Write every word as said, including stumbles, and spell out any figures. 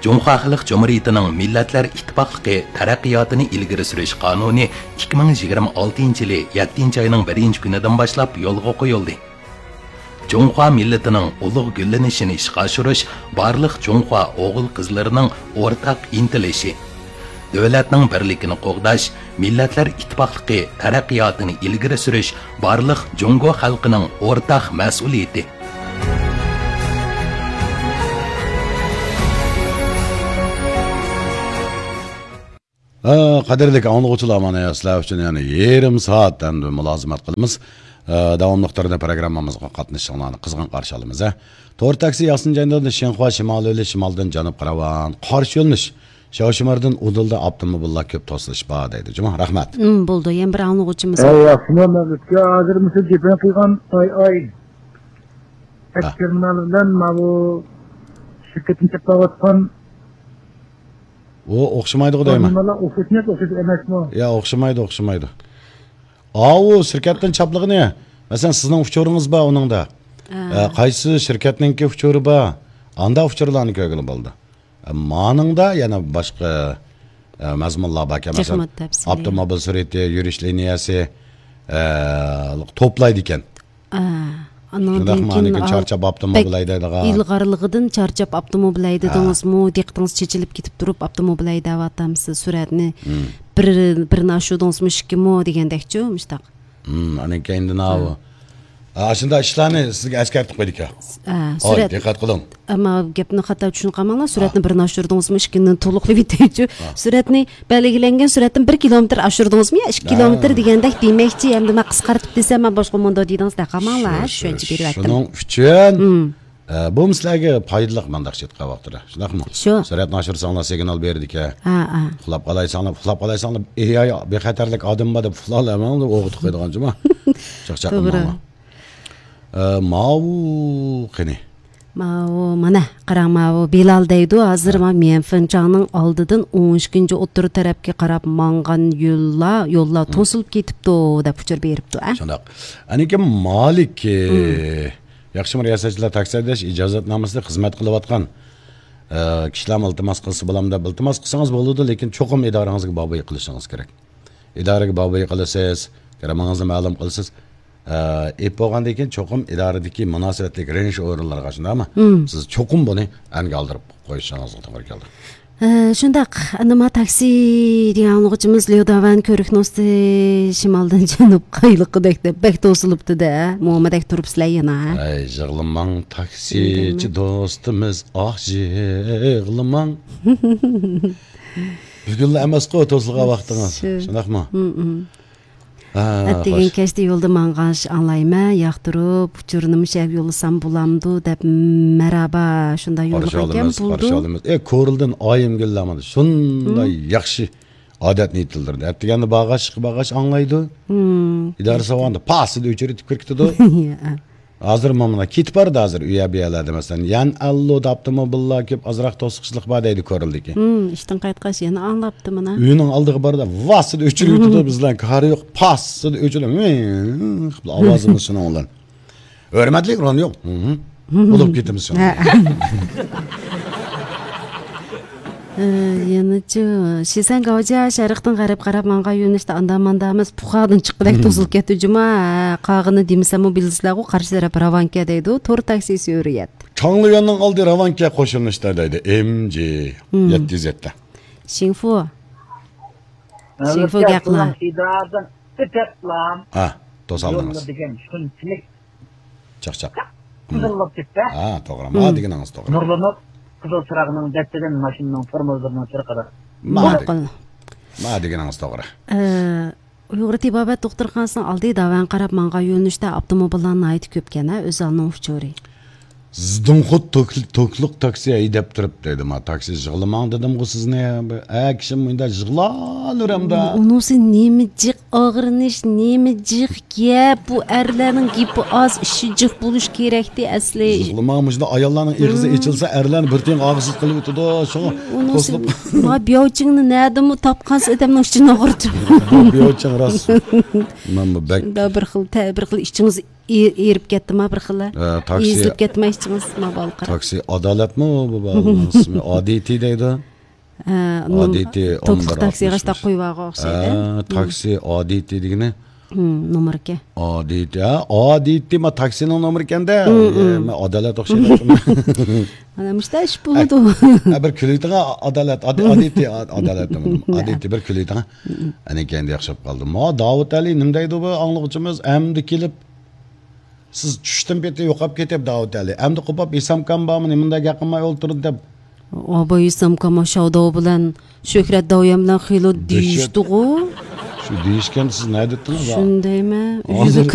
جۇڭخۇا خەلق جۇمھۇرىيىتىنىڭ مىللەتلەر ئىتتىپاقلىقى تەرەققىياتىنى ئىلگىرى سۈرۈش قانۇنى ئىككى مىڭ يىگىرمە ئالتىنچى يىلى يەتتىنچى ئاينىڭ بىرىنچى كۈنىدىن باشلاپ يولغا قويۇلدى. جۇڭخۇا مىللىتىنىڭ ئۇلۇغ گۈللىنىشىنى ئىشقا ئاشۇرۇش بارلىق جۇڭخۇا ئوغۇل-قىزلىرىنىڭ ئورتاق ئىنتىلىشى. دۆلەتنىڭ بىرلىكىنى قوغداش، مىللەتلەر ئىتتىپاقلىقى تەرەققىياتىنى ئىلگىرى سۈرۈش بارلىق جۇڭگو خەلقىنىڭ ئورتاق مەسئۇلىيىتى. ھە، قەدىرلىك ئاڭلىغۇچىلار، مانا سىلەر ئۈچۈن يەنە يېرىم سائەت ئەمدى مۇلازىمەت قىلىمىز. ھە، داۋاملىق تۈردە پروگراممىمىزغا قاتنىشىشىڭلارنى قىزغىن قارشى ئالىمىز، ھە. تور تاكسى ياسىنجاندىن شىنخۇا شىمال يولى، شىمالدىن جەنۇبقا راۋان. قارشى يۆنىلىش شياۋشىمىردىن ئۇدۇلدا ئاپتوموبىللار كۆپ توسۇلۇش بار دەيدۇ. جۇمۇ، رەھمەت. ئىم، بولدى. يەنە بىر ئاڭلىغۇچىمىز. ئەي، ياخشىمۇ مەۋلۇتكە؟ ھازىر مۇشۇ گېپىڭ قىلغان ئاي ئاي. ھە. ئەسكەرمىنالار بىلەن ماۋۇ شىركەتنى چاپلاۋاتقان ئۇ ئوخشىمايدىغۇ دەيمەن. ئوخشىمايدۇ، ئوخشاش ئەمەسمۇ؟ يا، ئوخشىمايدۇ، ئوخشىمايدۇ. ئاۋۇ شىركەتتىن چاپلىغىنى، مەسىلەن، سىزنىڭ ئۇچۇرىڭىز بار ئۇنىڭدا. ھە. ئە، قايسى شىركەتنىڭكى ئۇچۇرى بار؟ ئاندا ئۇچۇرلارنى كۆرگىلى بولىدۇ. ئە، مانىڭدا يەنە باشقا، ئە، مەزمۇنلار باركەن. مەسىلەن، تېخىمۇ تەپسىلىي. ئاپتوموبىل سۈرئىتى، يۈرۈش لىنىيەسى، ئە، توپلايدىكەن. ئە، ئانىڭدىن شۇنداقمۇ؟ كېيىن، ئاندىن كېيىن ئا، چارچاپ ئاپتوموبىل بەك ھەيدەيدىغان. ئىلغارلىقىدىن چارچاپ ئاپتوموبىل ھەيدىدىڭىزمۇ؟ ھە. دىققىتىڭىز چېچىلىپ كېتىپ تۇرۇپ ئاپتوموبىل ھەيدەۋاتامسىز؟ سۈرئەتنى مم. بىر، بىرنى ئاشۇردىڭىزمۇ، ئىككىمۇ دېگەندەكچۇ، مۇشتاق. مم، ئاندىن كېيىن ئاۋۇ. ھە. ئاشۇنداق ئىشلارنى سىزگە ئەسكەرتىپ قويدۇكەن. ھە، ھاي، سۈرەت. دىققەت قىلىڭ. ئەمما گەپنى خاتا چۈشىنىپ قالماڭلار. سۈرئەتنى ھە. بىرنى ئاشۇردىڭىزمۇ، ئىككىنى تولۇقلاپ ئۆتەيچۇ. ھە. سۈرئەتنى بەلگىلەنگەن سۈرئەتتىن بىر كىلومېتىر ئاشۇردىڭىزمۇ يا ئىككى ھە. كىلومېتىر دېگەندەك دېمەكچى، ئەمدى مەن قىسقارتىپ دېسەم، مەن باشقا مۇنداق دېدىڭىز دەپ قالماڭلار، شۇ، شۇ، چۈشەنچە بېرىۋەتتىم. شۇنىڭ ئۈچۈن، مم. ئە، بۇ سىلەرگە پايدىلىق، مانداقچە ئېيتقان ۋاقتىدا. شۇنداقمۇ؟ شۇ. سۈرئەتنى ئاشۇرساڭلار سىگنال بېرىدىكەن. ھە، ھە. ئۇخلاپ قالايساڭلار، ئۇخلاپ قالايساڭلار، ئېي، ئاي، بىخەتەرلىك ئادەم بار دەپ ئۇخلاۋالماڭلار، ئويغىتىپ قويىدىغان جۇما. چاقچاق توغرا. قىلماڭلار. ئە، ماۋۇ قېنى؟ ماۋۇ، مانا، قاراڭ، ماۋۇ بىلال دەيدۇ، ھازىر ھە. مانا ميەنفېنچاڭنىڭ ئالدىدىن ئون ئىككىنچى ئوتتۇرا تەرەپكە قاراپ مانغان يوللار، يوللار ھە. توسۇلۇپ كېتىپتۇ، دەپ ئۇچۇر بېرىپتۇ، ھە؟ شۇنداق. ئەنىكى مالىك، ھە. ياخشىمۇ رىياسەتچىلەر تاكسى ھەيدەش ئىجازەتنامىسىدا خىزمەت قىلىۋاتقان، ئە، كىشىلەرمۇ ئىلتىماس قىلسا بولامدۇ دەپ ئىلتىماس قىلسىڭىز بولىدۇ، لېكىن چوقۇم ئىدارىڭىزگە باربوي قىلىشىڭىز كېرەك. ئىدارىگە باربوي قىلىسىز، گىرىمىڭىزنى مەلۇم قىلىسىز. ئە، ئېپ بولغاندىن كېيىن چوقۇم ئىدارىدىكى مۇناسىۋەتلىك رېنج ئورۇنلارغا، شۇنداقمۇ؟ مم. سىز چوقۇم بۇنى ئەنگە ئالدۇرۇپ قويۇشىڭىزغا توغرا كېلىدۇ. ئە، شۇنداق. ئەمما تاكسى دېگەن ئاڭلىغۇچىمىز ليوداۋەن كۆۋرۈكنىڭ ئۈستى شىمالدىن جەنۇب قايلىقىدەك دەپ بەك توسۇلۇپتۇ-دە. مۇمۇدەك تۇرۇپسىلەر يەنە. ئەي، يىغلىماڭ، تاكسىچى دوستىمىز، ئاھ، يىغلىماڭ. بۈگۈنلا ئەمەسقۇ توسۇلغان ۋاقتىڭىز. شۇ. شۇنداقمۇ؟ مم، مم. ھە، ئەتىگەن خوش. كەچتە يولدا ماڭغاچ ئاڭلايمەن، ياقتۇرۇپ، ئۇچۇرنىمۇ شەرپ يوللىسام بولامدۇ دەپ، مەرھابا، شۇنداق يوللىغانكەن بولىدۇ. قارشى ئالىمىز، قارشى ئالىمىز. ئە، كورلىدىن ئايىمگۈل مانا شۇنداق ھىم. ياخشى ئادەتنى يېتىلدۈردى. ئەتىگەندە بارغاچ، ئىشقا بارغاچ ئاڭلايدۇ. ھىم. ئىدارە سالغاندا پاسىدا ئۆچۈرۈۋېتىپ كىرىپ كېتىدۇ. ھازىر مانا كېتىپ بارىدۇ ھازىر، ئۇ يەر بۇ يەرلەردە مەسىلەن، يەنئەنلۇدا ئاپتوموبىللار كۆپ، ئازراق توسۇقچىلىق بار دەيدۇ كورلىدىكى. ھىم، ئىشتىن قايتقاچ يەنە ئاڭلاپتۇ مانا. ئۆينىڭ ئالدىغا باردا ۋاسىتە ئۆچۈرۈۋېتىدۇ، بىزلەرنىڭ كارى يوق، پاسسىدا ئۆچۈرۈپ، ۋىڭ قىلىپ ئاۋازىمىز شۇنىڭ بىلەن. ھۆرمەتلىك رونيۇ. ھىم. بولۇپ كېتىمىز شۇنىڭ بىلەن. ھە. ئە، يەنىچۇ، شىسەن گاۋجيا شەرقتىن غەرب قاراپ ماڭغان يۆنىلىشتە ئاندا-ماندا ئەمەس، پۇخادىن چىققۇدەك توسۇلۇپ كەتتى جۇما. ھە، قالغىنى دېمىسەممۇ بىلىسىلەرغۇ، قارشى تەرەپ راۋانكە دەيدۇ، تور تاكسى سۈرۈيەت. چاڭليۈەننىڭ ئالدى راۋانكە قوشۇلۇشتا دەيدۇ، ئېم جى يەتتە يۈز يەتتە. شىڭفۇ. شىڭفۇ گەقلا. ئىدارىدىن ئۆتەپلا ھە، توسالدىڭىز. يوللىدىكەن شۇنچىلىك چاقچاق. قىزىللاپ كەتتى. ھە، توغرا. ما دېگىنىڭىز توغرا. نۇرلىنىپ، قىزىل چىراغنىڭ دەستىدىن ماشىنىنىڭ تورمۇزلىرىنىڭ چىرقىرا. ما دېگىنىڭىز توغرا. ئۇيغۇر تېبابەت دوختۇرخانىسىنىڭ ئالدى داۋان قاراپ ماڭغان يۆنىلىشتە ئاپتوموبىللار ناھايىتى كۆپكەن ھە، ئۆزئالنىڭ ئۇچۇرى. زىدىڭخۇت توك-، توكلۇق تاكسى ھەيدەپ تۇرۇپ دەيدۇ، ما تاكسى يىغلىماڭ دېدىمغۇ سىزنى. ھە، كىشىم مۇنداق يىغلاۋېرەمدە. ئۇنىسى نېمە جىق ئاغرىنىش، نېمە جىق گەپ، بۇ ئەرلەرنىڭ گېپى ئاز، ئىشى جىق بولۇش كېرەكتى ئەسلى. يىغلىماڭ، مۇشۇنداق ئاياللارنىڭ ئېغىزى ئېچىلسا، ئەرلەرنى بىر تىيىن ئاغزىسىز قىلىۋېتىدۇ، شۇڭا توسۇلۇپ. ما بياۋچىڭنى نەدىمۇ تاپقانسىز، ئادەمنىڭ ئىچىنى ئاغرىتىپ. بياۋچىڭ راست. مەن بۇ بەك شۇنداق بىر خىل، بىر خىل ئىچىڭىز ئېرىپ كەتتىما بىر خىللا؟ ئە، تاكسى. ئېزىلىپ كەتتىمە ئىچىڭىز، ما بالقىرا. تاكسى ئادالەتمۇ بۇ بالىنىڭ ئىسمى؟ ئادىتى دەيدۇ. ئادىتى توكلۇق تاكسىغا شۇنداق قويۇۋالغان ئوخشايدۇ. تاكسى ئادىتى دېگىنى. نومۇركەن. ئادىتى، ھە، ئادىتى ما تاكسىنىڭ نومۇرى ئىكەندە. مەن ئادالەت ئوخشايدۇ. مانا مۇشتا ئىش بولىدۇ. ھە، بىر كۈلۈۋېتىڭ، ئادالەت، ئادىتى، ئادالەت. ئادىتى، بىر كۈلۈۋېتىڭ. ئەنە كەينىدە ياخشى بولۇپ قالدى. ما داۋۇت ئەلى نېمە دەيدۇ بۇ ئاڭلىغۇچىمىز؟ ئەمدى كېلىپ سىز چۈشتىن پېتى يوقاپ كېتىپ، داۋۇت ئەلى. ئەمدى قوپاپ، ھېسامكام بارمۇ، نېمە مۇنداق گەپ قىلماي ئولتۇردى دەپ. ئاباي ھېسامكام شاۋداۋ بىلەن شۆھرەت داۋيان بىلەن خېلى دېيىشتىغۇ. شۇ دېيىشكەن، سىز نەدە ئېيتتىڭىز؟ شۇندايمەن. ھازىر